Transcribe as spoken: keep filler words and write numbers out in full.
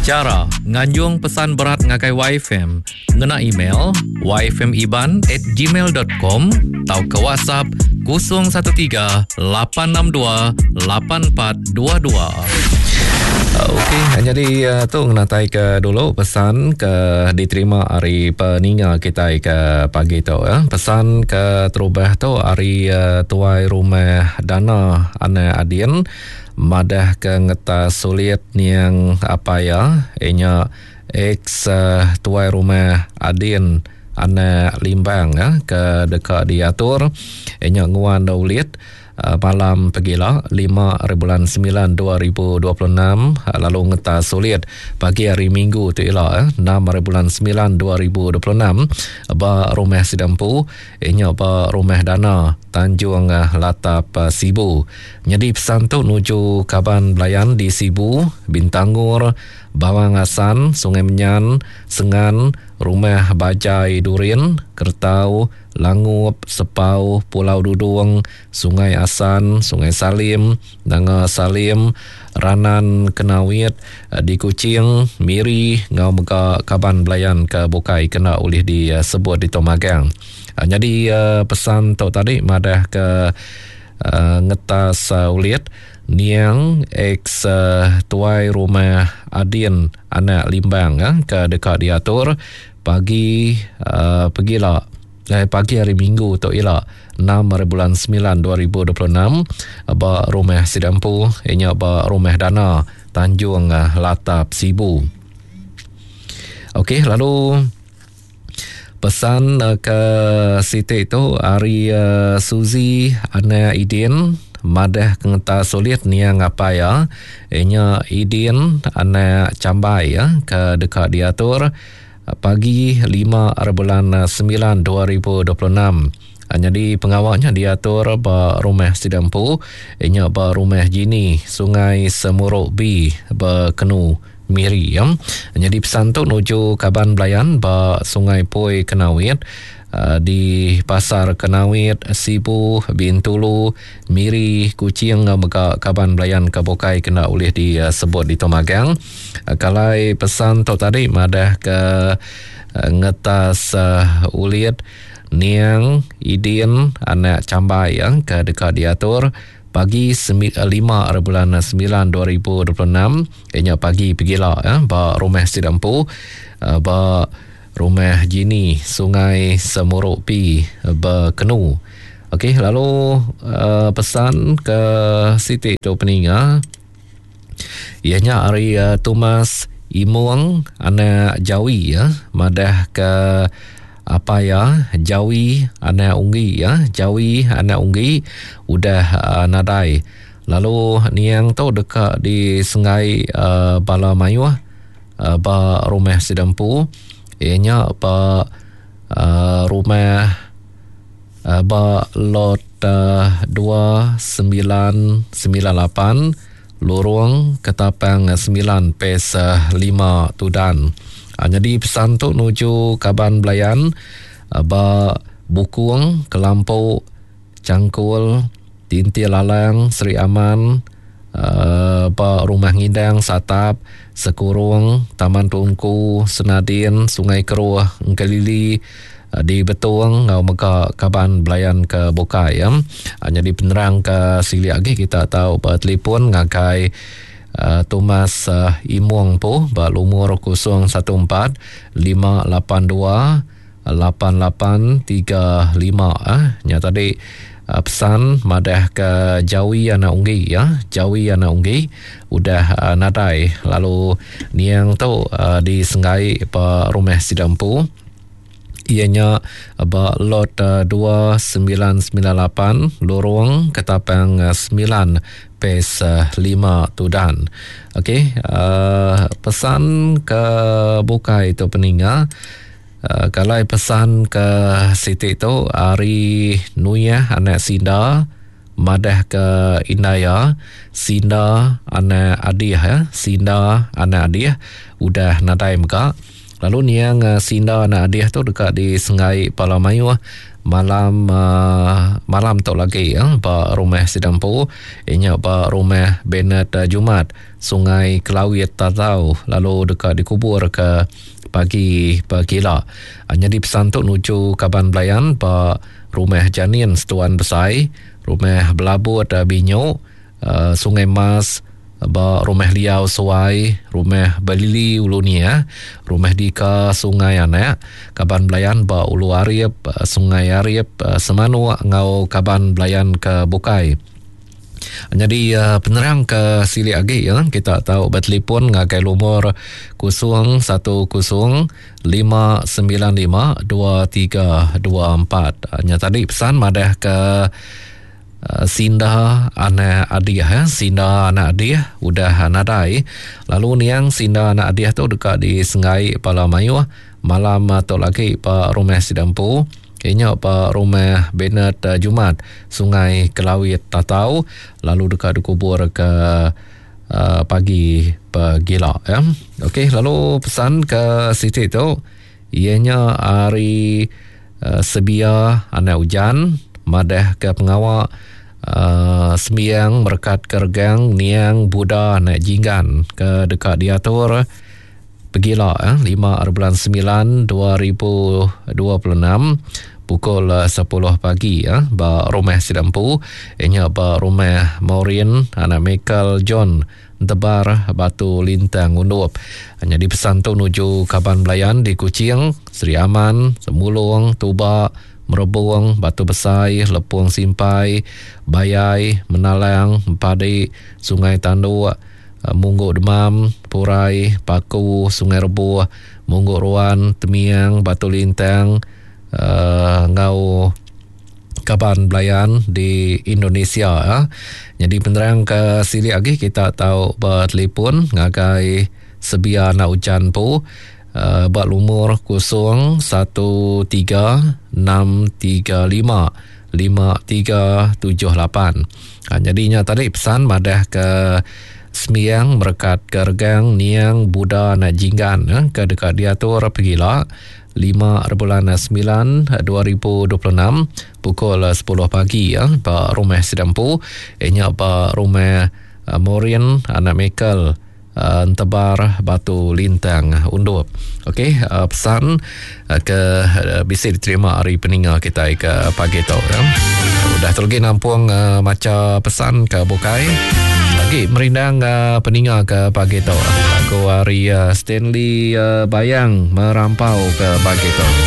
Chara nganjung pesan berat ngagai Y F M ngena email y f m iban at gmail dot com tauka WhatsApp kosong satu tiga lapan enam dua lapan empat dua dua. Okey, jadi uh, tu ngenatai ke dulu pesan ke diterima hari peninga kita ke pagi tu ya. Pesan ke terubah tu hari uh, tuai rumah Dana Anak Adin madah ke ngetas sulit niang apa ya inya ex uh, tuai rumah Adin Anak Limbang ya, ke dekat diatur inya nguan ulit malam pegila lima bulan sembilan dua ribu dua puluh enam lalu ngetas sulit pagi hari Minggu tu ila enam bulan sembilan dua ribu dua puluh enam ba rumah Sidampu inya ba rumah Dana Tanjung Latap Sibu. Jadi pesan tu nuju kaban belayan di Sibu, Bintangor, Bawang Asan, Sungai Menyan, Sengan, Rumah Bajai Durin, Kertau, Langup, Sepau, Pulau Dudung, Sungai Asan, Sungai Salim, Nanga Salim, Ranan Kenawit, di Kuching, Miri, ngau mega kaban belayan ke bukai kena oleh disebut di Tomagang. Jadi pesan tu tadi madah ke ngetas ulit niang ex tuai rumah Adin Anak Limbang ke dekat diatur pagi uh, pegila eh, pagi hari Minggu tu ila enam bulan sembilan dua ribu dua puluh enam ba rumah Sidampu inya ba rumah Dana Tanjung Latap Sibu. Okey, lalu pesan uh, ke Siti tu hari uh, Suzy Anak Idin madah kengeta sulit niang apa ya inya Idin Anak Cambai ya ke dekat diatur pagi lima bulan sembilan dua ribu dua puluh enam. Jadi pengawalnya diatur ba rumah Sidampu inya ba rumah Jini Sungai Semuruk B Bekenu Miri ya. Jadi pesan tu nuju kaban belayan ba Sungai Poi Kenawit di Pasar Kenawit, Sibu, Bintulu, Miri, Kuching mega kaban belayan ke bukai kena oleh disebut di Tomagang. Kalai pesan tu tadi madah ke ngetas uh, ulit niang Idin Anak Cambai yang ke dekat diatur pagi lima bulan sembilan dua ribu dua puluh enam ianya pagi pegila ya ba rumah Sidampu ba rumah Jini Sungai Semuruk P Bekenu. Okey, lalu uh, pesan ke Siti tu peninga ianya hari uh, Thomas Imung Anak Jawi ya madah ke apa ya Jawi Anak Unggi ya Jawi Anak Unggi udah uh, nadai lalu niang tu dekat di Sungai uh, Bala Mayuh uh, ba rumah Sidampu ianya ba uh, rumah uh, ba lot uh, dua sembilan sembilan lapan Lorong Ketapang sembilan Pes lima Tudan. Ha, jadi pesan tu nuju kaban belayan ba Bukung, Kelampok, Cangkul, Tintil Lalang, Seri Aman, uh, ba Rumah Ngindang, Satap, Sekurung, Taman Tungku, Senadin, Sungai Keruh, Engkelili, uh, di Betung, ngau mega kaban belayan ke bukai ya. Ha, jadi penerang ke sili lagi kita tahu ba telefon ngagai Uh, Thomas uh, Imung po ba lumur kosong satu empat lima lapan dua lapan lapan tiga lima ah. Nya tadi uh, pesan madah ke Jawi Anak Unggi ya, Jawi Anak Unggi udah uh, nadai lalu niang tu uh, di Sengai ba rumah Sidampu ianya ba lot uh, dua sembilan sembilan lapan Lorong Ketapang uh, sembilan Pes uh, lima Tudan. Okey, uh, pesan ke bukai tu peninga uh, kalau pesan ke Siti tu hari Nuyah Anak Sinda madah ke Indaya Sinda Anak Adih ya, Sinda Anak Adih udah nadai mega. Lalu niang Sinda Anak Adih tu dekat di Sengai Palamayuh malam uh, malam tu lagi ya, ba rumah Sidampu inya ba rumah Bennett uh, Jumat Sungai Kelawit Tatau lalu dekat dikubur ke pagi pagila. Jadi pesan tu nuju kaban belayan ba rumah Janin Setuan Besai, rumah Belabut Binyo, uh, Sungai Mas, ba rumah Liau Suai, rumah Balili Ulu Nia, rumah Dika Sungai Anak, kaban belayan ba Ulu Arif, Sungai Arif, Semanuk ngau kaban belayan ke Bukai. Jadi uh, penerang ke silik lagi ya, kita tahu bertelefon ngagai lumur kosong satu kosong lima sembilan lima dua tiga dua empat. Nya tadi pesan madah ke uh, Sinda anak Adiah ya, Sinda anak Adiah udah nadai. Lalu niang Sinda anak Adiah tu dekat di Sengai Pala Mayuh malam tu lagi pa rumah Sidampu. Kayaknya pa rumah Bennett uh, Jumat Sungai Kelawit Tatau lalu dekat dikubur ke uh, pagi pagila ya. Okey, lalu pesan ke Siti tu ianya hari uh, Sebia anak hujan madah ke pengawak uh, sembiang merekat kergang niang Buddha anak jinggan ke dekat diatur pegila eh, lima bulan sembilan dua ribu dua puluh enam pukul sepuluh pagi eh, ba rumah Sidampu ianya ba rumah Maureen anak Michael John Tebar Batu Lintang Undup. Hanya dipesan tu nuju kaban belayan di Kuching, Seri Aman, Semulung, Tuba, Merebung, Batu Besai, Lepung Simpai, Bayai, Menalang, Empadi, Sungai Tanduk, Mungguk Demam, Purai, Paku, Sungai Rebuh, Mungguk Ruan, Temiang, Batu Lintang, uh, ngau kaban belayan di Indonesia. Ya. Jadi penerang ke silik lagi kita tahu bertelefon ngagai Sebia anak hujan pu uh, buat lumur kosong satu tiga enam tiga lima lima tiga tujuh lapan. Ha, jadinya tadi pesan madah ke Sembiang merekat ke regang niang Buddha anak jinggan eh, ke dekat diatur pegila lima bulan sembilan dua ribu dua puluh enam pukul sepuluh pagi ya, ba rumah Sidampu inya ba rumah uh, Maureen anak Michael uh, Entebar Batu Lintang Undup. Okey, uh, pesan uh, ke uh, bisa diterima hari peninga kita ke pagi tu ya. Udah terlegi nampung uh, maca pesan ke bukai. Lagi merindang uh, peninga ke pagi tu. Lagu hari uh, Stanley uh, Bayang merampau ke pagi tu.